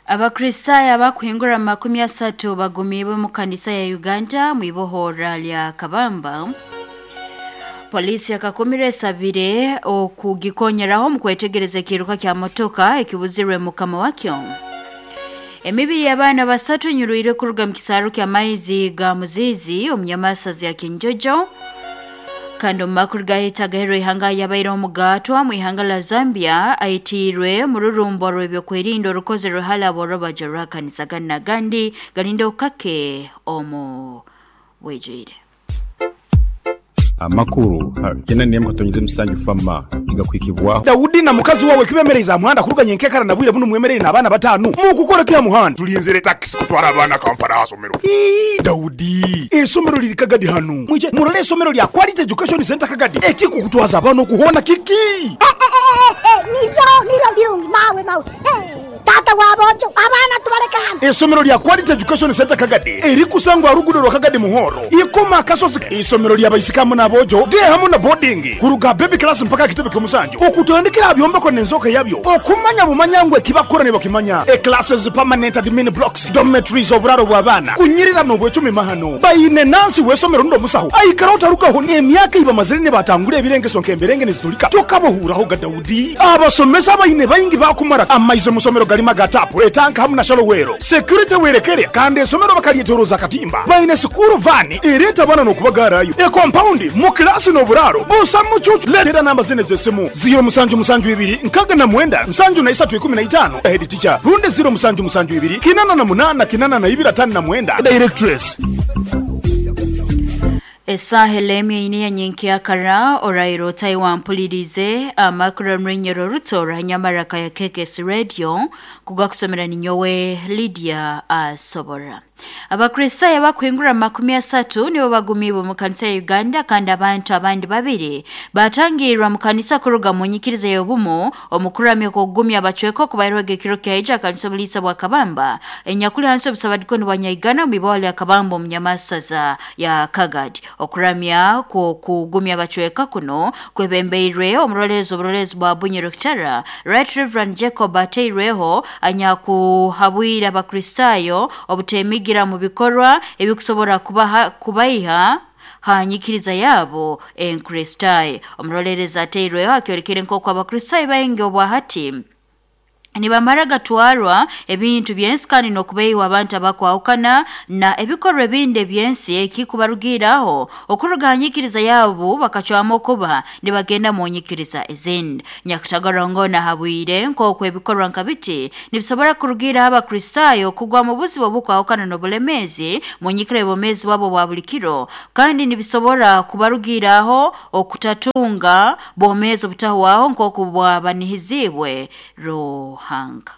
Abakristaayo abakuhingura 30 bagumiibwe mu kanisa ya Uganda mwibohora lya Kabamba. Polisi yakakumire esabire okugikonyeraho mu kwetegereza ekiruka kya motoka ekibuzirwe mukama wakyo. Emibiri y'abaana 3 enyurwire kuruga mu kisaaru ky'amaizi ga Muzizi omu nyamasazi ya Kinjojo. Kandi omu makuru gahita ihanga yabaire omugatwa mu ihanga la Zambia aitiirwe mu rurumbo rw'ebyokwerinda orukozerwe hali aborobajo rwa kanisa gana gandi galinde okake omu bwijwire. Amakuru kena niyemu katonyize musanju fama igakwikibwaho Daudi na mukazi wawe kibemereza muhanda kuruganya enkekara na bwire buno mwemerere n'abaana 5 mukukora kya muhanda tulinzire taxi kutwara abaana Kampala asomero. Daudi esomero liri Kagadi hanu mwije murole esomero lya Quality Education Center Kagadi ekikukutwaza abaana okuhona kiki niro birungi mawe mawe tata wabojo abaana tubaleka hano. Esomero lya Quality Education Center Kagadi erikusangwa rugudo rwa Kagadi Muhoro ikoma kasozi. Isomero lya baisikamu n'abojo de hamu na boarding kuruga baby class mpaka kitebe k'omusanju okutandikira byombeko n'enzoka yabyo okumanya bumanyangwe kibakora ne bakimanya e classes permanent admin blocks dormitories oburaro bw'abaana kunyirira n'obwecumi mahano bayine nansi w'esomero ndo musaho aikara utarukaho n'emyaka iba mazire ne batangura ebirengeso nk'emberenge nezitulika tokabohuraho ga Daudi abasomesa bayine bayingi bakumara amaize musomero galima gatapu etanka hamu na shalowero security werekere kandi esomero bakalietoroza katimba bayine sukuru vani ereta bana n'okubagarayo e compound mu klasi n'oburaro busa mucucu letera namba zine z'essimu 072 69 73 15 head teacher runde 072 88 82 59 directress. Esaha elemye ine ya nyenkya orairo Taiwan mpulirize amakuru mrenyero ruto ranyamaraka ya KKS Radio kugakusomera ninyowe Lydia Asobora. Abakristaayo abakuhingura 30 nibo bagumiibwe mu kanisa ya Uganda kandi abantu abandi 2 batangirwa mu kanisa kuruga mu nyikiriza y'obumu omukuramya okugumya abacweka okubairwega ekiro kyaija kanisa obuliisa bwa Kabamba enyakuli hansi obusabadikono bwa Nyaigana mu ibawali ya Kabamba omu nyamasaza ya Kagadi. Okuramya kugumya abacweka kuno kwebembeirwe omurolezo oburolezo bwa Bunyoro Kitara Right Reverend Jacob ateirweho anyakuhabwira abakristaayo obutemigira mu bikorwa ebikusobora kubaiha hanyikiriza yabo enkristayo. Omurolereza ateirweho akyorekere nk'oku abakristayo baingi obwahati nibamara gatwarwa ebintu byensi kandi n'okubeiwa abantu abakwahukana na ebikorwa ebindi ebyensi ekikubarugiraho okuruga hanyikiriza yabo bakacwamu okuba nibagenda mu nyikiriza ezindi. Nyakutagarongo nahabwire nk'oku ebikorwa nka biti nibisobora kurugira abakristaayo kugwa mu buzibu obukwahukana n'obulemeezi mu nyikira y'obwomeezi bwabo bwa buli kiro kandi nibisobora kubarugiraho okutatunga bwomeezi obutahwaho nk'oku bwabanihizibwe Ruhanga.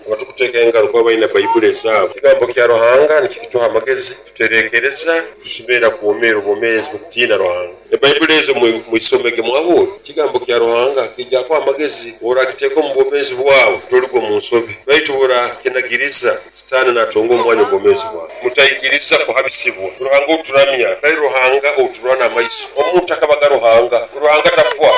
Abatukuteka engaro kuba balina Bayibuli ezaabo. Ekigambo kya Ruhanga nikituha amagezi, tuterekereza, tusimera kuwomeera obwomeezi bukutiina Ruhanga. Ebayibuli ezo mwisomege mwabwo. Ekigambo kya Ruhanga kijja kuha amagezi orakiteeka omu bwomeezi bwawe toligwa mu nsobi. Baitu orakinagiriza Sitaani natonga omwanya obwomeezi bwawe. Mutaikiriza kuhabisibwa. Ruhanga oturamya, tali Ruhanga oturwana amaiso. Omuntu akabaga Ruhanga, Ruhanga tafwa.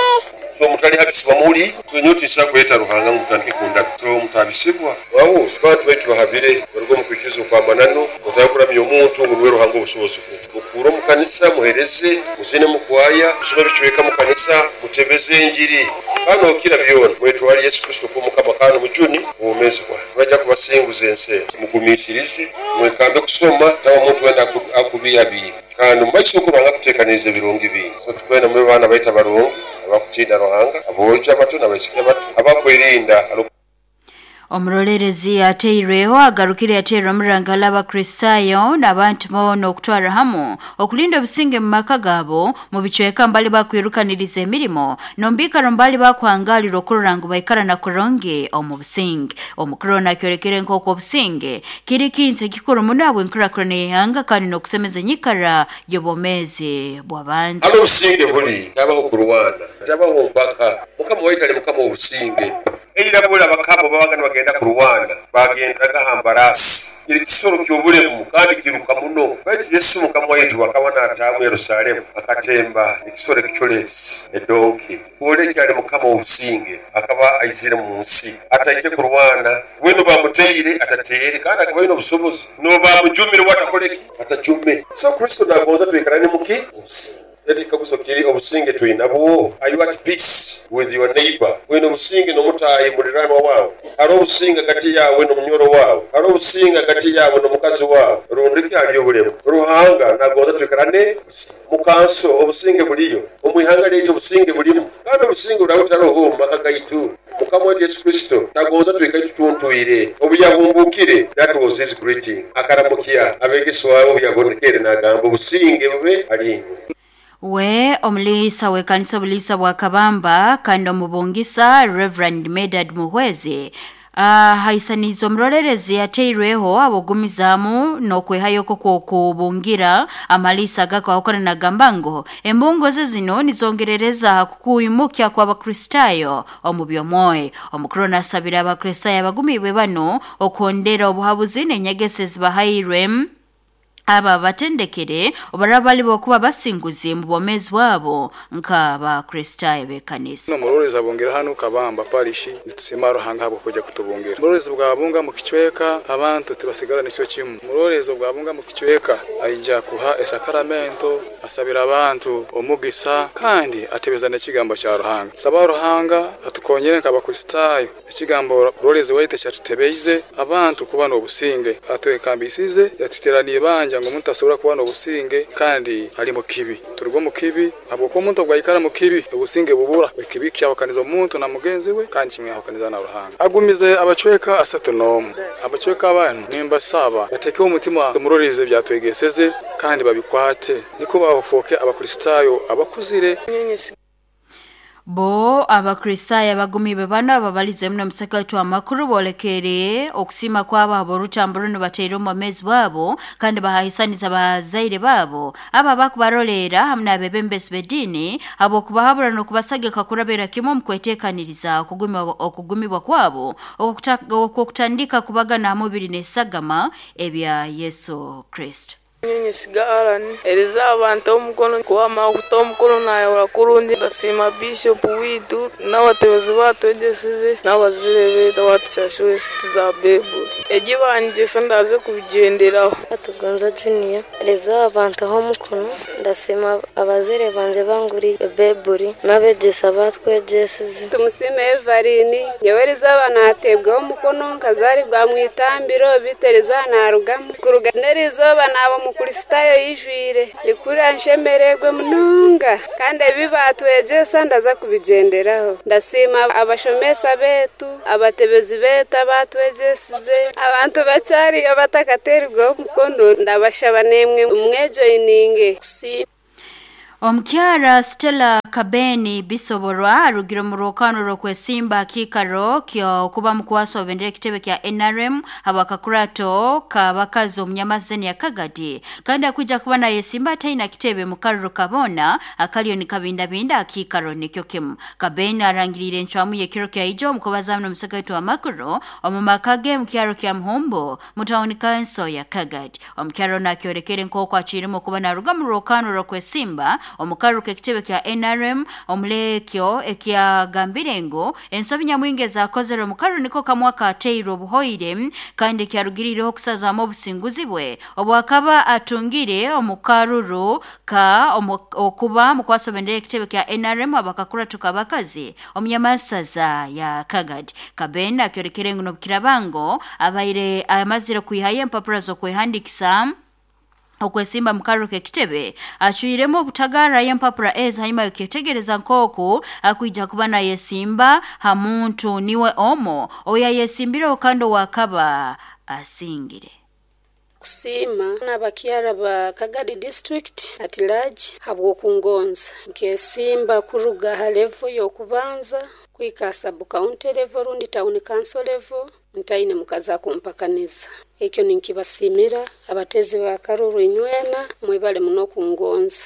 So mutali habisibwa muli tunyuti kuleta Ruhanga mutandike kunda. So mutabisibwa wawo bantu baitu bahabire barugo mu kwikizo kwa manano mutakuramya omuntu ngo Ruhanga obusobozi mukuro mu kanisa muhereze muzine mukwaya musome bicweka mu kanisa mutebeze enjiri kano kila byona mwetwali Yesu Kristo ko mukama kano mujuni obumezi bwa bajja kubasinguza ense mugumisirize mwekambe kusoma nawo omuntu wenda akubiyabiye kandi mumaiso kuranga kutekaniriza ebirungi bingi. So tukwenda mu baana baita barungi abakutinda Ruhanga abojo abato n'abaisiki abato abakwerinda. Omurolerezi ateireho agarukire atera omurangala abakristaayo n'abantu boona okutwara hamu okulinda obusinge mu maka gaabo mu bicweka mbali bakwirukaniriza emirimo nombikaro mbali bakwangalira okurora ngu baikara na kuronge omu businge. Omukuru nakyorekere nk'oku obusinge kiri kintu ekikuru muno habw'enkurakurana y'ihanga kandi n'okusemeza enyikara y'obwomeezi bw'abantu. Hano obusinge buli tabaho kurwana tabaho mpaka. Mukama waitu ali mukama w'obusinge. Eira bola abakama babaga nibagenda kurwana, bagendaga ha mbarasi. Kiri kisoro ky'obulemu kandi kiruka muno. Baitu Yesu mukama waitu akaba naataamu Yerusalemu, akatemba ekisoro ekiculeezi, edonki. Kwoleka ali mukama w'obusinge, akaba aizire mu nsi. Ataije kurwana, bwenu bamuteire atateere, kandi akaba aine obusobozi. N'obu bamujumire we atakole ki? Atajume. So Kristo nagonza twikarane muki? Obusinge. Eti ekikaguzo kiri, obusinge twinabwo? Are you at peace with your neighbor? Oine obusinge n'omutaahi muliranwa waawe? Haroho obusinge hagati yaawe n'omunyoro waawe? Haroho obusinge hagati yaawe n'omukazi waawe? Rundi ki haliyo obulemu? Ruhanga nagonza twikarane obusinge. Mu kanso obusinge buliyo, omu ihanga lyaitu obusinge bulimu, kandi obusinge buraba butaroho omu maka gaitu. Mukama waitu Yesu Kristo tagonza twikale tutuntwire. Obu yahumbuukire, that was his greeting. Akaramukya abegeswa be obu yabonekere nagamba, obusinge bube hali inywe. We omuliisa w'ekanisa obuliisa bwa Kabamba kandi omubungisa Reverend Medard Muhwezi ahaisaniize omurolerezi yateirweho ab'ogumizaamu n'okwehayo kw'okubungira amaliisa agakahukana nagamba ngu embungo ze zino nizongerereza ha kukwimukya kw'Abakristaayo omu by'omwoyo. Omukuru nasabira Abakristaayo abagumiibwe banu okuhondera obuhabuzi n'enyegesa ezibahairwe aba batendekere obaraba bali bokuba basinguzi mu bwomeezi bwabo nk'Abakristaayo b'ekanisa. Omurorezi abungira hanu Kabamba Parish, nitusiima Ruhanga ahabw'okwija kutubungira. Omurorezi bwabunga mu kicweka, abantu tibasigara nikyo kimu. Omurorezi obwabunga mu kicweka aija kuha esakaramento, asabira abantu omugisa kandi atebeza n'ekigambo kya Ruhanga. Saba Ruhanga atukonyere nk'Abakristaayo, ekigambo murorezi waitu ekyatutebeize abantu kuba n'obusinge, atwekambisize, yatuteraniire ibanja ngu omuntu asobora kuba n'obusinge kandi ali mu kibi. Turuga omu kibi, habwokuba omuntu obu aikara mu kibi, obusinge bubura. Ekibi kyahukaniza omuntu na mugenzi we kandi kimwahukaniza na Ruhanga. Agumize abacweka 31. Abacweka banu nimbasaba batekeho omutima omurorezi ebyatwegeseze kandi babikwate, niko bafooke Abakristaayo abakuzire. Bo Abakristaayo abagumiibwe banu ababalize muno omusaka waitu amakuru boolekere okusiima kwabo habw'orutambu runu bateire omu bwomeezi bwabo kandi bahaisaniza bazaire baabo abo abakubaroleera hamu n'abeebembezi b'ediini habw'okubahabura n'okubasagika kurabira kimu omu kweteekaniriza okugumibwa kwabo okw'okutandika kubagana ha mubiri n'esagama ebya Yesu Kristo. Nyesiga Alan ereza abantu omukono kuwama okuta omukono nayehura kurungi. Ndasiima Bishop witu n'abatebezi batwegyesize n'abazire betu abatusashure esiti za Baibuli. Egi banyegyesa ndaze kubigyenderaho. Atugonza Junior ereza abantu omukono. Ndasiima abazire banje banguriire Baibuli n'abegyesa batwegyesize. Tumusime Evelyn nyowe erizooba nateebwaho omukono nkazaribwa mu itambiro bitu erizooba narugamu kuruga n'erizooba naba Omukristaayo yijwire nikura nshemeregwe munonga kandi ebi batwegyesa ndaza kubigyenderaho. Ndasiima abashomesa betu, abatebezi betu abatwegyesize, abantu bakyariyo batakateeribwaho omukono ndabashaba nemwe mwejoyininge. Omukyara Stella Kabeni Bisoborwa arugire omu rwokano rw'okwesimba akiikaro ky'okuba mukwasi wabendera ekitebe kya NRM habw'akakurato k'abakazi omunyamazeni ya Kagadi kandi akwija kuba nayesimba ataina kitebe mu karuru kabona akaliyo nikabindabinda akiikaro nikyo kimu. Kabeni arangiriire encwamu y'ekiro kya ijo omu kubazaamu n'omusaka waitu w'amakuru omu maka ge mu kyaro kya Muhumbo mu tawuni kanso ya Kagadi. Omukyara ono akyolekere nk'oku acwiremu okuba naruga mu rwokano rw'okwesimba omu karuru k'ekitebe kya NRM omulekyo ekyagambire ngu ensobi nyamwingi ezakozere omu karuru niko kamwe akateirwe obuhoire kandi kyarugiriireho okusazaamu obusinguzi bwe obwakaba atungire omu karuru ka okuba mukwasi bendera ekitebe kya NRM abakakurato k'abakazi omunyamasaza ya Kagadi. Kabeni akyolekere ngu n'obukirabango abaire amazire kwihayo empapura z'okwehandikisa okwesimba mu karuru k'ekitebe acwiremu obutagarrayo empapura ezi hanyuma y'okyetegereza nk'oku akwija kuba nayesimba ha muntu niwe omu ouyayesimbirweho kandi owakaba asingire. Kusiima n'abakyara ba Kagadi district at large habw'okungonza nkesimba kuruga ha level y'okubanza kuhika ha sub county level rundi town council level ntaine mukazi akumpakaniza. Ekyo ninkibasiimira abateezi ba karuru inywena mwebale muno kungonza.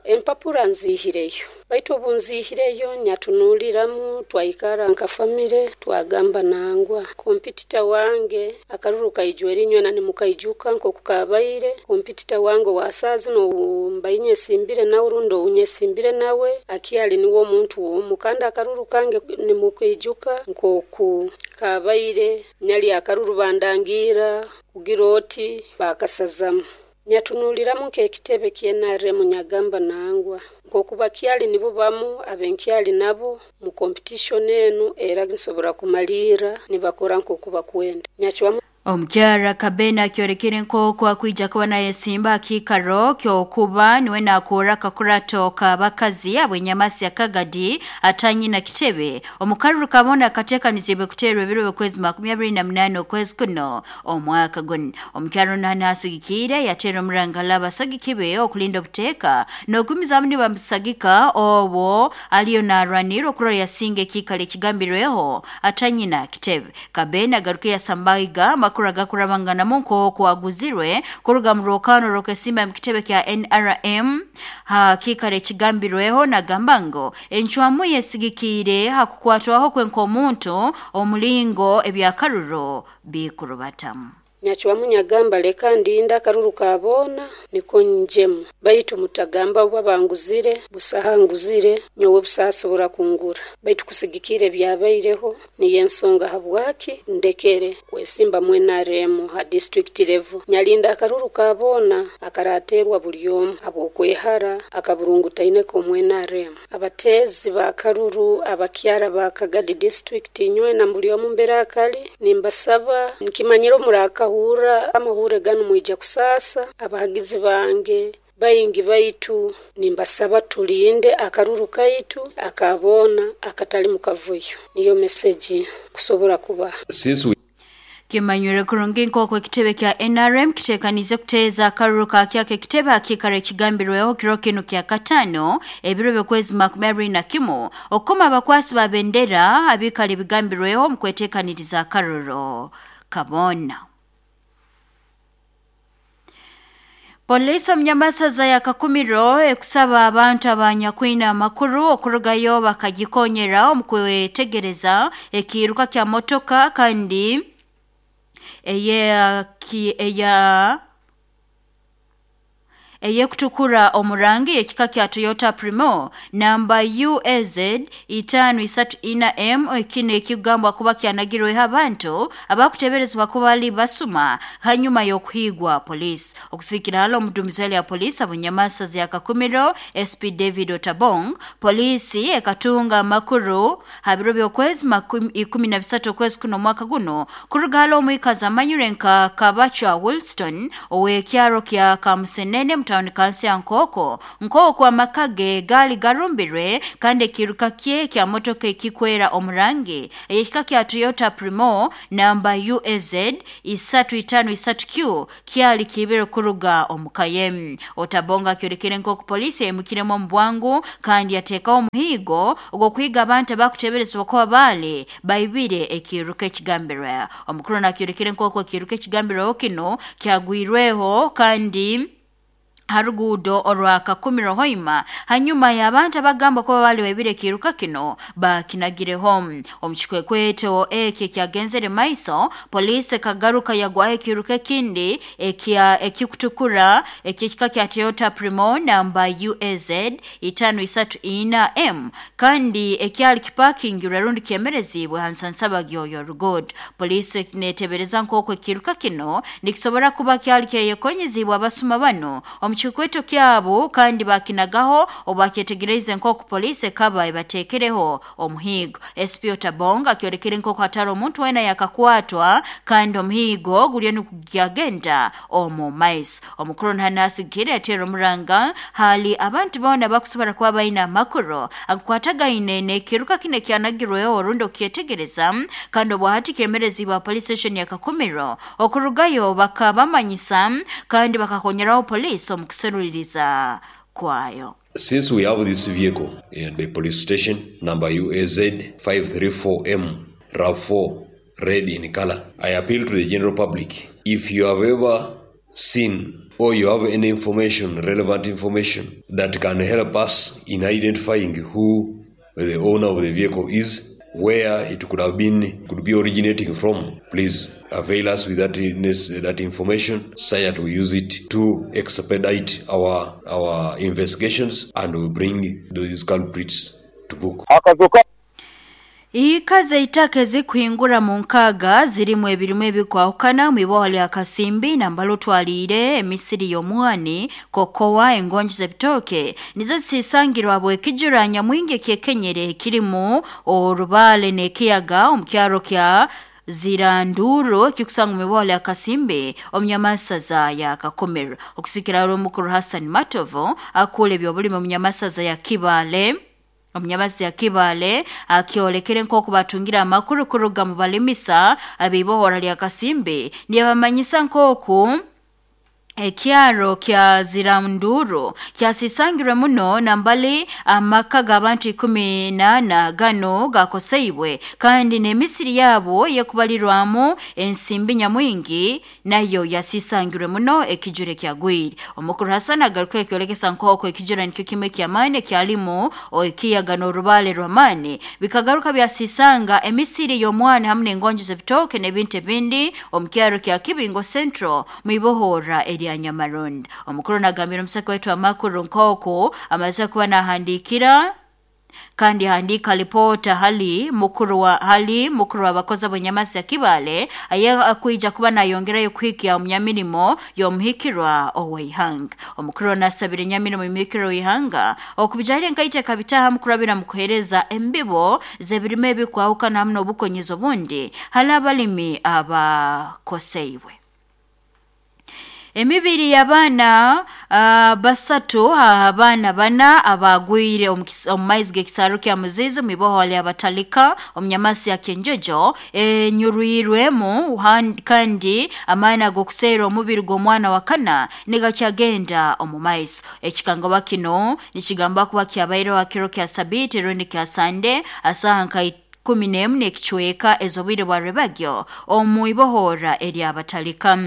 Empapura nziihireyo baitu obu nziihireyo nyatunuuliramu twaikara nka famire twagamba nangwa kompitita wange akaruru kaijwire inywena nimukaijuka nk'oku kabaire kompitita wange owa saaha zinu ou mbaire nyesimbire nawe rundi ou nyesimbire nawe akyali niwe omuntu omu kandi akaruru kange nimukaijuka nk'oku kabaire nyali akaruru bandangiira kugira oti baakasazamu. Nyatunuuliramu nk'ekitebe kya NRM nyagamba nangwa nk'oku bakyali nibo bamu abenkyali nabo mu competition enu era nsobora kumaliira nibakora nk'oku bakwenda. Nyacwamu. Omukyara Kabena akyorekere nk'oku akwija kuba nayesimba akiikaro ky'okuba niwe naakora akakurato k'abakazi ab'enyamasi ya Kagadi atanyina kitebe omukaruru kabona akateekanizibwe kuteerwa ebiro by'okwezi 28 okwezi kuno omwaka guno. Omukyara ono nasigikiire yateera omurangala abasagiki be okulinda obuteeka n'okugumizamu nibamusagika obwo aliyo naarwanira okurora yasinga ekiikaro ekigambirweho atanyina kitebe. Kabena agaruke yasambaiga amakuru agakurabanganamu nk'oku aguzirwe kuruga mu rwokano rw'okwesimba mu kitebe kya NRM ha kiikaro ekigambirweho nagamba ngu encwamu yesigikiire ha kukwatwaho kwe nk'omuntu omulingo ebyakaruro bikurubatamu. Nyacwamu nyagamba leka ndinde akaruru ka boona niko njemu baitu mutagamba oba banguzire busaha nguzire nyowe busasobora kungura baitu kusigikira ebyabaireho niyo ensonga habwaki ndekere kwesimba mu NRM ha district level. Nyalinda akaruru ka boona akarateerwa buli omu habw'okwehara akaburungutaineko omu NRM. Abateezi ba karuru abakyara ba Kagadi district inywena buli omu mbere akali nimbasaba nkimanyire omurakahuura amahure ganu mwija kusaasa abahagizi bange baingi baitu nimbasaba tulinde akaruru kaitu akaboona akatali mu kavuyo. Niyo meseji kusobora kuba. Kimanyire kurungi nk'oku ekitebe kya NRM kiteekanize kuteeza akaruru kakyako ekitebe akiikaro ekigambirweho kiro kinu kya katano ebiro by'okwezi 21 okukoma abakwasi ba bendera abiikara ebigambirweho omu kweteekaniriza akaruru kabona. Polisi omunyamasaza ya Kakumiro ekusaba abantu abanyakwine amakuru okurugayo bakagikonyera omu kwetegereza ekiiruka kya motoka kandi eyekutukura omurangi ekika kya Toyota Primo namba UAZ 534M ekino ekigambwa kuba kyanagirweho abantu abakuteberezebwa kuba bali basuma hanyuma y'okuhigwa polisi. Okusikira halo omudumizi ya polisi abanyamasaza ya Kakumiro SP David Otabong, polisi ekatunga amakuru ha biro by'okwezi 13 okwezi kuno omwaka guno kuruga halo omwikazi amanyire nka Kabacha Wilston ow'ekyaro kya Kamusenene mu tawuni kansi ya Nkoko nk'oku amaka ge gaali garumbirwe kandi ekiruka kye kya motoka ekikwera omurangi ekika kya Toyota Primo namba UAZ 353Q kyali kiibire kuruga omukaye. Otabonga akyorekere nk'oku polisi eyimukiremu omu bwangu kandi yateekaho omuhiigo ogw'okuhiga abantu abakuteeberezebwa kuba baali baibire ekiruka ekigambirwe. Omukuru nakyorekere nk'oku ekiruka ekigambirweho kino kyagwirweho kandi haruguudo orwa Kakumiro Hoima hanyuma y'abantu abagamba kuba bali baibire ekiruka kino bakinagireho. Omu kikwekweto eki ekyagenzere maiso polisi ekagaruka yagwaho ekiruka ekindi ekikutukura ekyekika kya Toyota Primo namba UAZ 534M kandi ekyali kipakingirwe rundi kyemerezibwe ha nsansabagyo y'oruguudo. Polisi netebereza nk'oku ekiruka kino nikisobora kuba kyali kyeyekonyezibwe abasuma bano omu kikweto kyabo kandi bakinagaho obakyetegereze nk'oku polisi ekaba ebateekereho omuhiigo. SP Otabonga akyorekere nk'oku hatari omuntu weena yakakwatwa kandi omuhiigo guriyo nigugyagenda omu maiso. Omukuru nanasigikire yateera omuranga hali abantu boona bakusobora kuba baine amakuru agakwatagaine n'ekiruka kino ekyanagirweho orundi okukyetegereza kandi obwahati kyemerezibwa police station ya Kakumiro okurugayo bakabamanyisa kandi bakakonyeraho polisi omu kuseruliriza kwayo. Since we have this vehicle in the police station number UAZ 534M RAV4 red in color. I appeal to the general public. If you have ever seen or you have any information, relevant information that can help us in identifying who the owner of the vehicle is, where it could have been, could be originating from, please avail us with that information so that we use it to expedite our investigations and we bring these culprits to book. Ikaze itake zikuhingura mu nkaga zirimu ebirimu ebikwahukana mu lya Kasimbi nambalo twalire emisiri y'omwani kokowa engonjo z'ebitooke nizo zisangirwa bwekijura nyamwingi kyekenyere kirimu orubale n'ekiyaga omu kyaro kya Ziranduro kikusanga mu lya Kasimbi omunyamasaza ya Kakomero. Okusikira omukuru Hassan Matovo akule ebyobulimi omunyamasaza ya Kibale omunyamazi ya Kibale akiolekere nk'oku batungira amakuru kuruga mu balimisa abibohora lya Kasimbi niyabamanyisa nk'oku ekyaro kya Ziranduro kyasisangirwe muno nambali amaka g'abantu 14 gano gakoseibwe kandi n'emisiri yabo yekubalirwamu ensimbi nyamwingi nayo yasisangirwe muno ekijure kyagwire. Omukuru Hassan agaruka ekyolekesa nk'oku ekijura nikyo kimwe kyamaani kyalimu ekiyaga n'orubale rw'amaani bikagaruka byasisanga emisiri y'omwana hamwe n'engonjo z'ebitooke n'ebintu ebindi omu kyaro kya Kibingo Central mwibohora ya Nyamaronda. Omukuru nagambira omusaka wetu amakuru nk'oku amaze kuba nahandikira kandi handika ripota hali mukuru wa bakozi abanyamasi ya Kibale aye akuija kuba nayongerayo kuhikia omunyamirimo y'omuhikirwa oweihanga. Omukuru nasabira enyamirimo y'omuhikirwa oweihanga okubijahire nkaija kabitaha mukurabira mu kuhereza embibo z'ebirime ebikwahukana hamwe n'obukonyezo obundi hali abalimi abakoseibwe. Emibiri y'abaana basatu abaana bana abagwire omu maizi g'ekisaaru kya Muzizi mwiboho lya Batalika omunyamasi ya Kenjojo enyurwirwemu kandi amaani ag'okuseera omubiri gw'omwana wa kana nigakyagenda omu maiso. Ekikangoba kino nikigamba kuba kyabaireho hakiro kya Sabiti rundi kya Sande asaha nka 11 n'ekicweka ez'obwire bwa Rebagyo omu ibohora eryabatalika.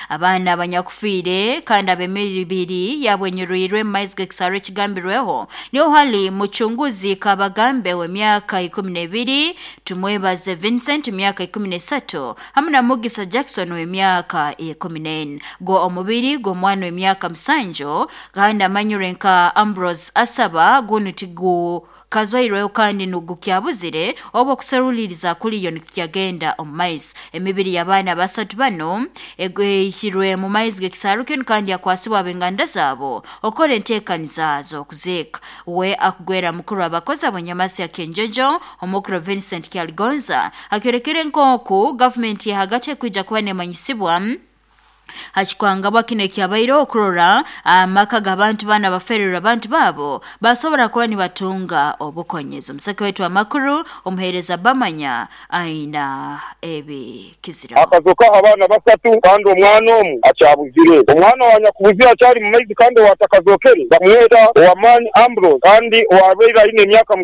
Abaana abanyakufiire kandi ab'emibiri yabwenyurwirwe mu maizi g'ekisaaru ekigambirweho niho hali muchunguzi Kabagambe w'emyaka 12, Tumwebaze Vincent emyaka 13 hamwe na Mugisa Jackson w'emyaka 14. Gwo omubiri gw'omwana w'emyaka 7 kandi amanyure nka Ambrose Asaba gunu tigu kazoirweho kandi nugukyabuzire oba okuseruliriza kuliyo nikyagenda omu maizi. Emibiri y'abaana basatu bano egwihirwe mu maizi g'ekisaaru kinu kandi yakwasibwa ab'enganda zaabo okora enteekaniza z'okuziika. We akugwera mukuru abakozi abanyamasi ya Kenjojo omukuru Vincent Kyaligonza akyorekere nk'oku gavumenti yahagati ekwija kuba nemanyisibwa hakikwangabwa kino ekyabaire okurora amaka g'abantu bana bafererwa abantu babo basobora kuba nibatunga obukonyezo. Omuseke wetu amakuru omuhereza Bamanya aina ebikizira. Akazoka abaana basatu kandi omwana omu akyabuzire. Omwana wa nyakubuzira akyali mu maizi kandi owatakazokere bamweta Owamani Ambrose kandi owabeire aine emyaka